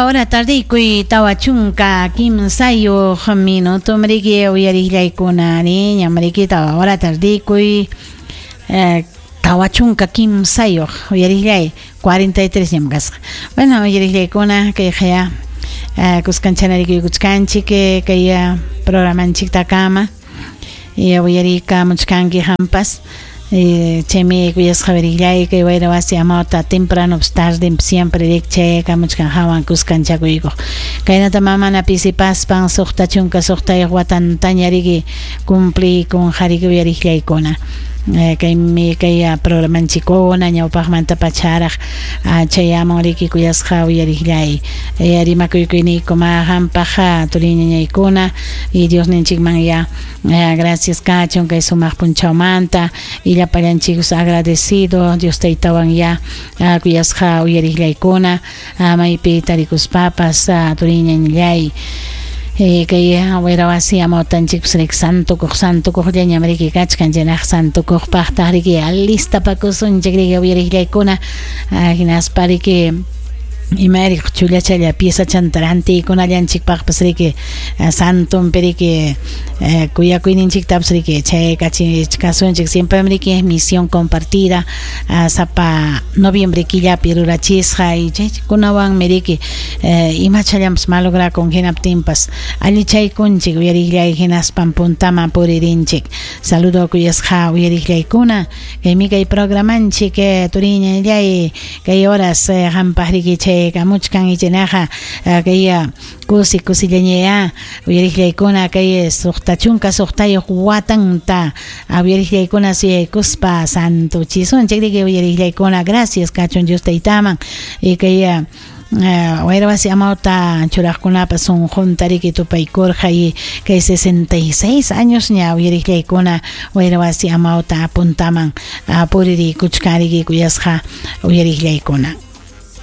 Hora tardikuy 43 minuto mriki uyariqllaykuna ari ñam riki 4 hora tardikuy 43 uyariqllay 43 ñam kasqa. Bueno, uyariqllaykuna kayqaya kuskanchana rikuykuchkanchik kay programanchiktakama uyariykamuchkanki qampas. Chaymi kuyasqa uyariqllay kay wayra wasi amawta temprano tarde siempre rikchaykamuchkan hawan kuskanchakuykuq. Kaynata mamana pisipaspan 66 watantaña riki cumpliykun hariki uyariqllaykuna. Kaymi kay programanchikkuna ñawpaqmanta pacharaq chayamun riki kuyasqa uyariqllay. Rimakuykuyniyku ma qampaq turiñañaykuna y Diosninchikman ya gracias kachun kay sumaq punchawmanta y llapallanchik agradecido Dios taytawan ya kuyasqa uyariqllaykuna maypi tarikuspapas turiñañallay. Kay wayra wasi amawtanchikpas riki santukuq santukuqllañam riki kachkan chaynaq santukuqpaqtaq riki alistapakusunchik riki uyariqllaykuna hinaspa riki imayri chullachalla piezachanta rantiykunallanchikpaqpas riki santonpi riki kuyakuyninchiktapas riki chaykachichkasunchik siempre riki misión compartida sapa noviembre killapi rurachisqa y chaykunawanmi riki imachallanpas malograkun hinaptinpas allichaykunchik uyariqllay hinaspan puntaman puririnchik. Saludo kuyasqa uyariqllaykuna kaymi kay programanchik turiñallay kay horas qampaq riki chaykamuchkan ichinaqa kay kusi kusillañaya uyariqllaykuna kay 66 watanta uyariqllaykuna suyaykuspa santuchisunchik riki uyariqllaykuna gracias kachun Dios taytaman y kay wayra wasi amawta churaqkunapas sunqunta riki tupaykurqa y kay 66 años ña uyariqllaykuna wayra wasi amawta puntaman puririkuchkan riki kuyasqa uyariqllaykuna.